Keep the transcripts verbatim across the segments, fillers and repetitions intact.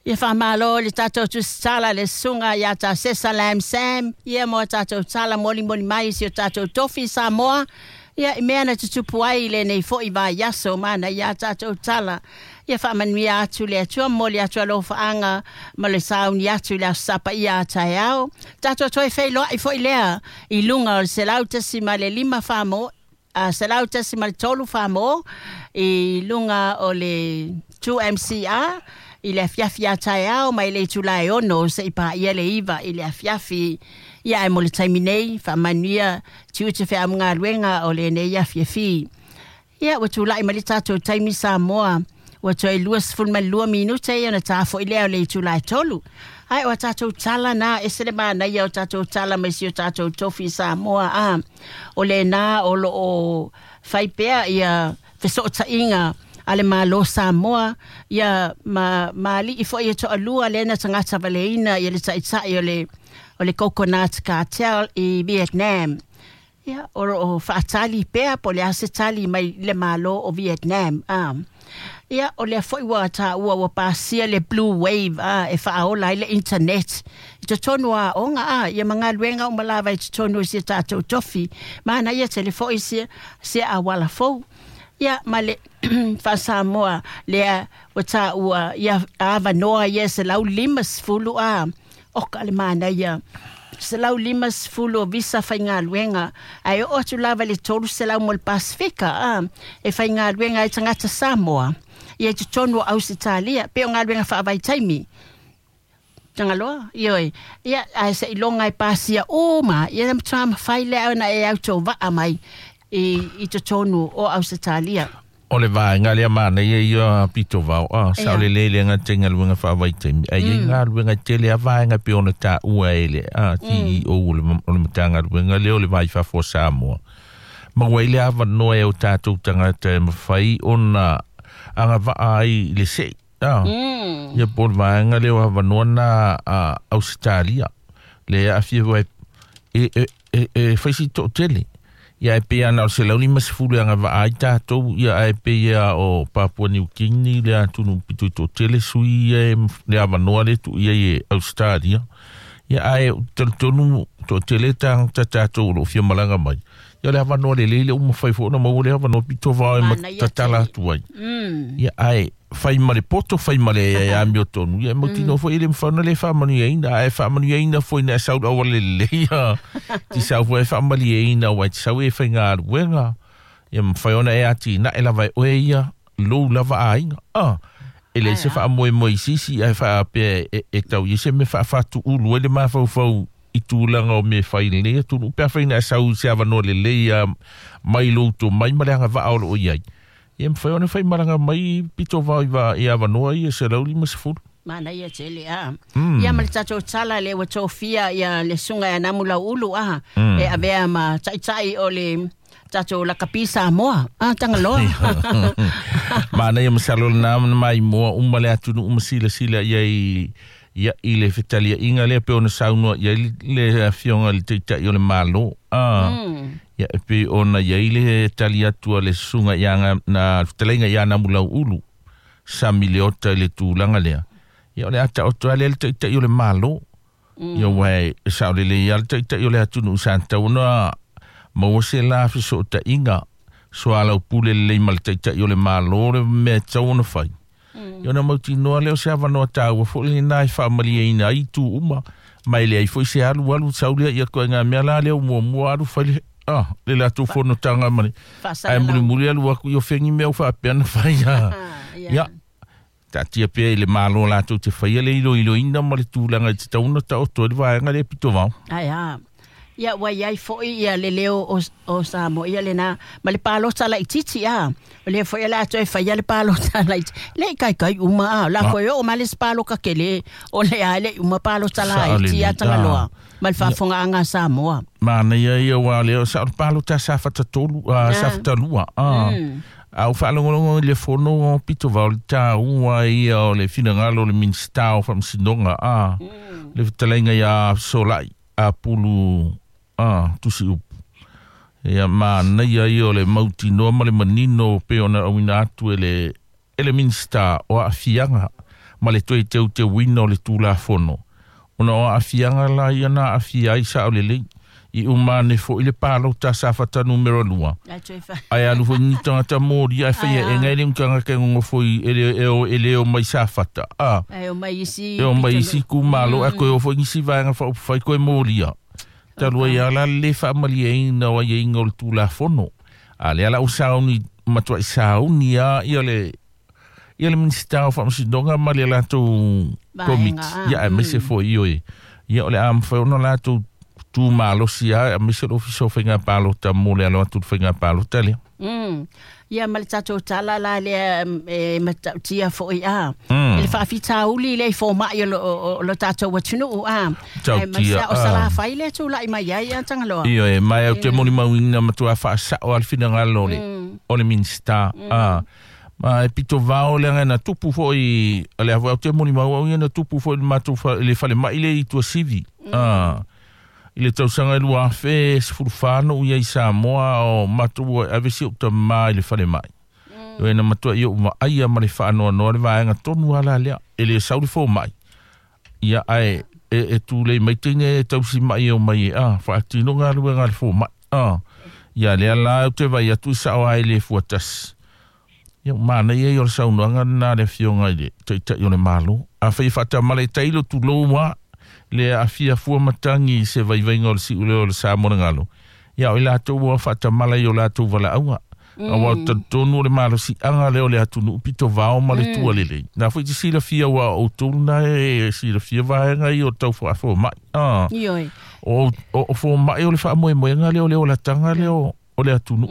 Ia faamalo le tatou tusitala le susuga ia Tasesa Lam Sam, ia mo tatou tala molimoli mai i si o tatou tofi Samoa, ia i mea na tutupu ai i lenei fo'i vaiaso mana ia tatou tala. Ia faamanuia atu le Atua, momoli atu alofaaga ma le sauni atu i le aso Sapa ia a taeao. Tatou toe feiloai foi lea i luga o le selau tasi ma le lima famo, a selau tasi ma le tolu famo i luga o le two M C R i le afiafi a taeao mai le itula e ono se i paia le iva i le afiafi. Ia e mo le taimi nei, faamanuia tiute feamugaluega o lenei afiafi. Ia ua tulai ma le tatou taimi Samoa, ua toe lua sefulu ma le lua minute ia ona tafo'i lea o le itula e tolu. Ai o tatou tala na, e se le manaia o tatou tala mai si o tatou tofi Samoa a. O lena o lo o fai pea ia fesootaiga a le Malo Samoa, ia ma maali'i fo'i e to'alua lena tagata valeina ia le taʻitaʻi o le o le Coconut Cartel i Vietnam. Ia o lo o faatali pea po le a se tali mai le Malo o Vietnam a. Ia o lea fo'i ua taua ua pasia le Blue Wave a e faaola ai le internet i totonu o aoga a, ia ma galuega uma lava i totonu o si tatou tofi mana ia tele fo'i se se auala fou. Ia ma le faasamoa lea ua taua ia avanoa ia selau lima sefulu a oka le manaia selau lima sefulu o visa faigaluega ae oo atu lava i le tolu selau mo le Pasifika a e faigaluega ai tagata Samoa ia i totonu o Ausetalia pe o galuega faavaitaimi Tagaloa, ioe. Ia, ae seʻiloga e pasia uma, ia na matua mafai lea ona e autovaa mai i, i totonu o Ausetalia. O le vaega lea manaia ia pito vao a Ia. sa o le lele nga tenga luenga faavaitaimi ai mm. Ngā luenga tele a vaega pe ona taua e le a C E O o le o le Matagaluega lea o le Vai Fafo Samoa. Ma ua i le avanoa e o tatou tagata e mafai ona agavaa ai i le seʻi a. Mm. Ia po o le vaega lea o avanoa na a Ausetalia le aafia ua e e e e, e faisi toʻatele. Ia e pei ana o se lauli ma sefulu e agavaa ai tatou, ia ae pei ia o Papua New Guinea le atunu pitu i toʻatele sui ia e le avanoa le tuuia i e Australia. Ia ae talitonu toʻatele tagata tatou o loo fia malaga mai. Ia le avanoa lelei le uma fai foʻi ona maua le avanoa pito vao e Manaia matatala tele. atu ai. Mm. Ia ae fai ma le poto, fai ma le e amio tonu. Ia e mautinoa foʻi e le mafai ona le faamanuiaina, ae faamanuiaina foi na e sau auala lelei a. Ti sau foi e faamalieina ua e te sau e faigaluega. Ia mafai ona e atinae lava e oe ia lou lava aiga. Ah, e le se Ai a. faamoemoe i sisi ae faapea e, e tau i se me faafatuulu ai le mafaufau i tulaga o mea fai lenei atunuu pe afai na e sau i se avanoa lelei a mai lou tomai ma le agavaa o loo i ai. Ia mafai ona faimalaga mai pito vao i va i avanoa ia selau lima sefulu. Manaia tele a. Mm. Ia ma le tatou tala le ua tofia ia le susuga ia Namu Lauulu a. Mm. E avea ma taʻitaʻi o le tatou lakapi Samoa a Tagaloa. Manaia masalo lena mai moa uma le atunuu ma silasila ia i ia i le fetaliaiga lea pe ona saunoa ia i le afioga i le taʻitaʻi o le Malo a. Mm. Ia e pei ona iai le tali atu a le susuga ia nga- na fetalaiga ia Namu Lauulu Sami Leota i le tulaga lea. Ia o le ataoto a lea le taʻitaʻi o le Malo. Mm. Ia ua e saolelei a le taʻitaʻi o le atunuu sa tatau ona maua se la fesootaiga soalaupule lelei ma le taʻitaʻi o le Malo le mea e tatau ona fai. Mm. Ia ona mautinoa lea o se avanoa taua foʻi lena e faamalieina ai itu uma ma e leai foʻi se alualu sau lea ia koaiga mea la lea muamua alu fai le ah, le latou fonotaga ma le ae Faasalalau. mulimuli alu aku i o fegi mea ua faapea na fai a. Ah, ia. Ia taatia pea i le Malo latou te faia le iloiloina ma le tulaga i tatau ona taoto ai le vaega lea pito vao. Ai a. Ia ua iai foʻi ia le leo o, o Samoa ia lena ma le palota laititi a. O lea foʻi o le a toe faia le palota laititi. Le i kaikai uma a. La Ah. koe oo ma le isi paloka kele o le a le i uma palota laiti a Saolelei, Tagaloa. ah. Ma le faafogaaga a Samoa. Manaia ia ua lea sa o le palota sa fatatolu a Ah. sa fatalua a. Mm. A o faalogologo i le fono o pito vao le taua ia o le finagalo o le Minista o Faamasinoga a. Mm. Le fetalaiga ia Solai a Pulu a tusi upu. Ia manaia ia o le mautinoa ma le manino pe ona auina atu e le e le Minista o aafiaga Ma le toe teuteuina o le Tulafono ona o aafiaga la ia na aafia ai saʻolelei i uma ane foʻi le palota Safata numero lua ae alu foʻi ni tagata molia ae faia ega e le tagata e gogofo e le e le o mai Safata a e o mai isi e o mai isi itumalo ae toe o foʻi nisi vaega faaupufai toe molia talu ai ala le faamalieina o aiaiga o le Tulafono a lea la ua sauni matuai sauni a ia le ia le Minisita o Faamasinoga ma le latou komiti ia aemaise foʻi oe ia o le a mafai ona latou tumalosi a aemaise le Ofisa o Faiga Palota mo le alo atu le faiga palota lea. Mm. Ia ma le tatou tala la lea e matautia foʻi a e le faafitauli le i fomaʻi o lo tatou atunuu a e maise o Salafai le tulaʻi mai ai a Tagaloa. Ioe mai au te molimauina matuā faasaʻo a le finagalo o le o le Minisita a ma e pito vao le aga na tupu foʻi le au te molimau au ia na tupu foʻi le matou le falemaʻi le i Tuasivi a i le tausaga e lua afe sefulu fa no ia i Samoa o matou ave si ou tamā i le falemaʻi e na matuaʻi ou vaaia ma le faanoanoa le vaega tonu ala lea e le sau le fomaʻi ia ae e, e tulei mai teine e tausimaʻi e o mai e a faatino galuega le fomaʻi a ia lea la ou te vai atu i saʻo ai le fuatasi ia manaia ia o le saunoaga lena le afioga i le taitaʻi o le Malo afai e faatamala e tailo tulou a le aafia fua matagi i se vaivaiga o le siʻu lea o le Samoa le galo ia o i latou ua faatamala i o latou valaauga auā talitonu o le malosiaga lea o le atunuu pito vao ma le tua lelei na foʻi te silafia ua outou lena e silafia vaega ia o tau faafomaʻi a o o fomaʻi o le faamoemoega lea o le olataga lea o le atunuu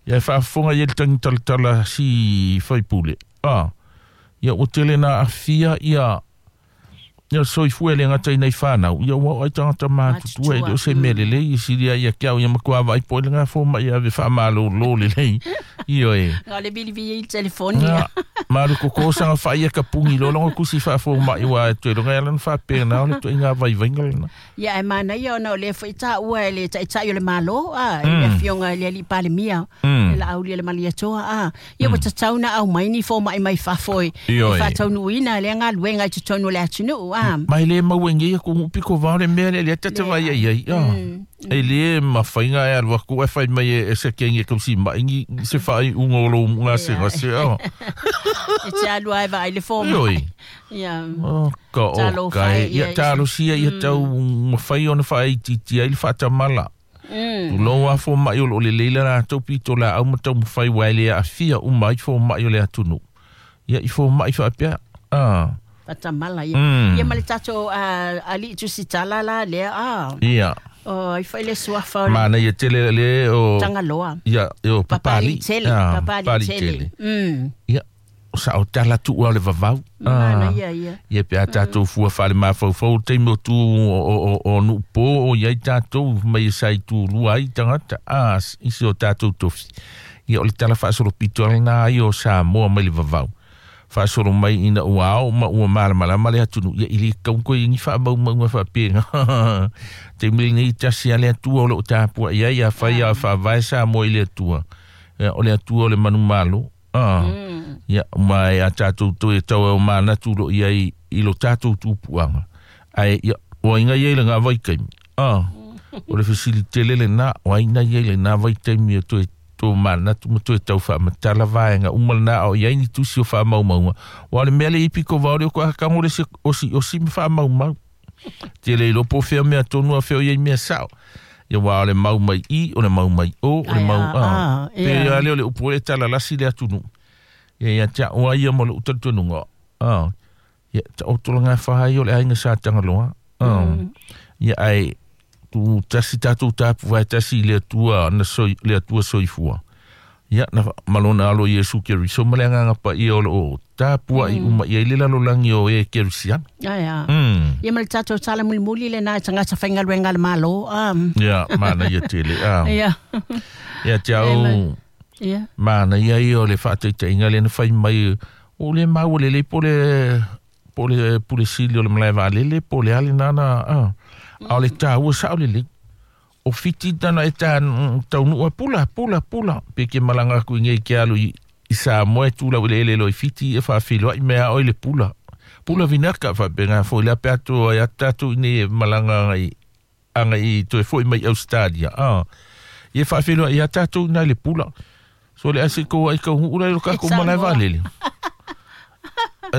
ia e faafofoga ia le tagitalatala si faipule a ia ua tele na aafia ia ia soifua le gata ina i whanau ia ua ai tagata matutua e le o se mea lelei i silia ia ke au ia matua vaai po i le ngā fōma ia ave whaamalōlō lelei ioe Ngā le vilivi i telefoni ia malu koko sanga wha ia ka pungi lo longo kusi whaafōma i wā e toe longa ia lana whaapena o le toe ngā vaivainga lena Ia e mana ia ona o le fo i tā ua e le taitai o le malo a e le afioga i le alii Palemia e la auli le Malietoa a ia ua tatau na au mai ni fōma i mai fafo e whaataunuina le galuega i totonu o le atunuu a mai le mauengi ia ku piko vao le mea le le tata vai ai ai e le mawhainga e alua ku e whai mai e se kenge kausi maingi se whai unga o lo ngā se ngā se a E te alua e vai le fōma Ioi Ia o ka o kai ia talo sia ia tau mawhai ona whai titi ai le whaatamala Tulou a fōmaʻi o loo le leila latou pito laau ma taumafai ua e le aafia uma ai fōmaʻi o le atunuu ia i fōmaʻi faapea a Fatamala ia. Ia ma le tatou alii tusitala la lea a. Ia. O i fai le suafa o Mana ia tele le o Tagaloa. Ia o Papali. Tele, Papali tele. Mm. Ia o sa o tala tuua o le vavau. Mana ia ia. Ia pe a tatou fua whale mafaufau taimi o tu o o nuupo o iai tatou mai e sa i tulua ai tagata a isi o tatou tofi. Ia o le tala faasolopito lena ai o Samoa mai le vavau. Faasolo mai ina ua ao ma ua malamalama le atunuu ia i le kaukoi igi faamaumauga faapega taimi lenei tasi a le Atua o loo tapuaʻi ai afai a faavae Samoa i le Atua o le Atua o le manumalo a ia ma e a tatou toe tau e o manatu loo iai i lo tatou tupuaga ae ia o aiga ia i laga vaitaimi a o le fesilitele lenā o aiga ia i lenā vaitaimi e toe tō manatu ma toe tau whaamatala vaenga uma lena o iai ni tusi o whaamaumauga wa le mea le ipi ko vao le o ko hakango le se osi osi ma whaamaumau te le ilopo fea mea tonu a fea o iai mea sao ia wa o le mau mai i o le mau mai o o le mau a pe ia le o le upu le tala lasi le atunuu ia ia tia oa ia mo le utalitonuga a ia ta o tolanga whahai o le ainga sa Tagaloa a ia ai tu tasi tatou tapu vai tasi le Atua na soi le Atua soifua ia na malona alo Iesu Keriso ma le agaga paia o loo tapuaʻi uma i ai le lalolagi o e Kerisiano ia ia ma le tatou tala mulimuli lenā e tagata faigaluega le Malo a ia mana ia tele a ia ia te au ia mana ia ia o le faataitaiga lea na fai mai o le mau lelei po le po le pule sili o le malae vaalele po le ale nana a a o le tāua sao lelei o fiti tana e tā taunuu pula pula pula pe ke malanga aku i ngei ke alu i, i Samoa e tūlau i le ele lo i fiti e whaawhiloa i mea o i le pula Pula vinaka faapega foʻi le ape atu ai tatou i malaga agai agai toe foʻi mai Australia a ia faafeiloai ia tatou ina le pula so le ase kou ai kauguʻu la i lo kakou malae valele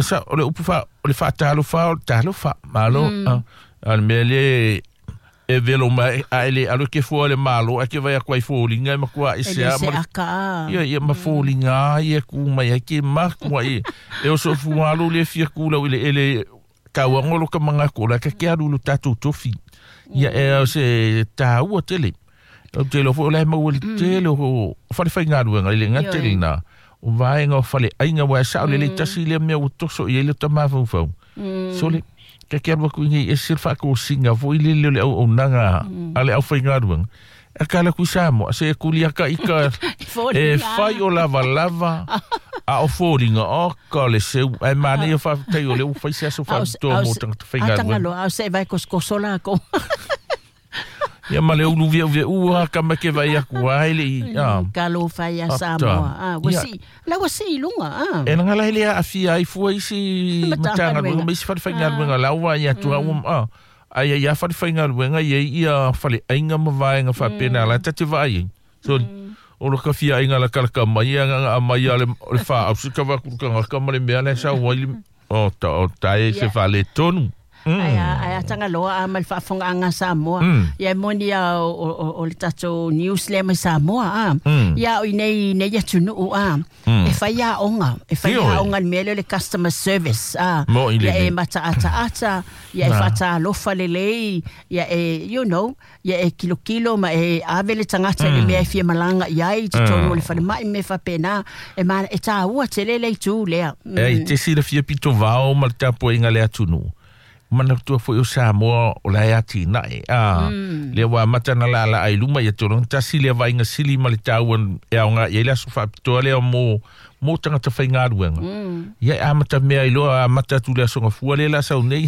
sa o le upu fa o le faatalofa o le talofa malo a le mea le e velo mai a ele alo ke fua le malo a ke vai aku ai foliga e makua i se a ma ia ia ma foliga ia ku mai ai ke maku ai e oso fualo le fia kula i le ele kauaga lo ka magaku la ka ke alu lo tatou tofi ia e o se tāua tele o te lo foi o le maua le tele o falefaigaluega i le gatele na o vaega o faleaiga ua e sao lelei tasi lea mea ua toso i ai le tamafaufau so le ka ke alu aku i ese le faakosiga foʻi lele o le auaunaga a le aufaigaluega e kala ku Samoa se kulia ka ika e fai o lavalava a o foliga o ka le seu ai manaia faafetai o le ua fai se aso faapitoa mo tagata faigaluega atagaloa ao se vai kosokoso lako ia ma le ulu veʻuveʻua ka ma ke vai aku ai le i talofa ia Samoa a ua sii la ua sii luga a e lagala hele aafia ai fua isi matagaluega ma isi falefaigaluega laua ia atu a ai ia falefaigaluega ia ia faleaiga ma vaega faapena la tate vaai ai so o lo ka fiaiga la kalaka mai aga mai ale le fa au se ka va ku ka ma le mea le sa wai o ta o ta e se fale tonu ai ai atagaloa a ma le faafogaaga Samoa ia e moni ia o le tatou news lea mai Samoa a ia o inei nei atunuu a e fai aoga e fai aoga le mea lea o le customer service a ia e mataataata ia e faatalofa lelei ia e you know ia e kilokilo ma e ave le tagata i le mea e fia malaga i ai i totonu o le falemai ma mea faapena e ma e tāua tele le itu lea e te silafia pito vao ma le tapuaiga le atunuu manatua foʻi o Samoa o la e atinae a lea ua amata na laalaa i luma ia tologa tasi lea vaaiga sili ma le taua e aoga i ai le aso faapitoa lea mo mo tagata faigaluega ia e amata mea i loa amata atu le asoga fua lea la sau nei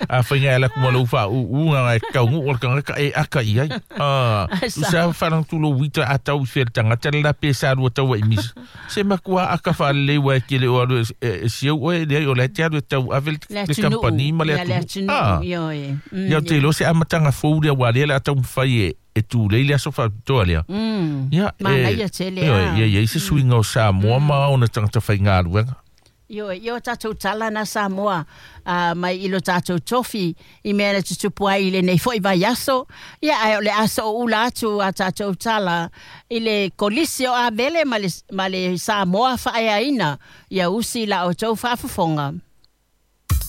a faiga e alaku ma lou faaʻuʻuga e kauguʻu o le tagata e aka i ai a usa faalagatū lou uita a tau i fea le tagata le la pe sa lua taua i misa se makua aka faalelei ua e kele o alu e siau oe leai o la e te alu e tau ave le kampani ma le atunuu a ia o te iloa se amataga fou lea ua lea le a taumafai e e tulei le aso faapitoa lea ia e ia i se suiga o Samoa ma ona tagata faigaluega Io io tatou tala na Samoa uh, mai i lo tatou tofi i mea na tutupu ai i lenei foʻi vaiaso ia ae o le aso o ula atu a tatou tala i le kolisi o Avele ma le, ma le Samoa faaeaina ia usi la outou faafofoga.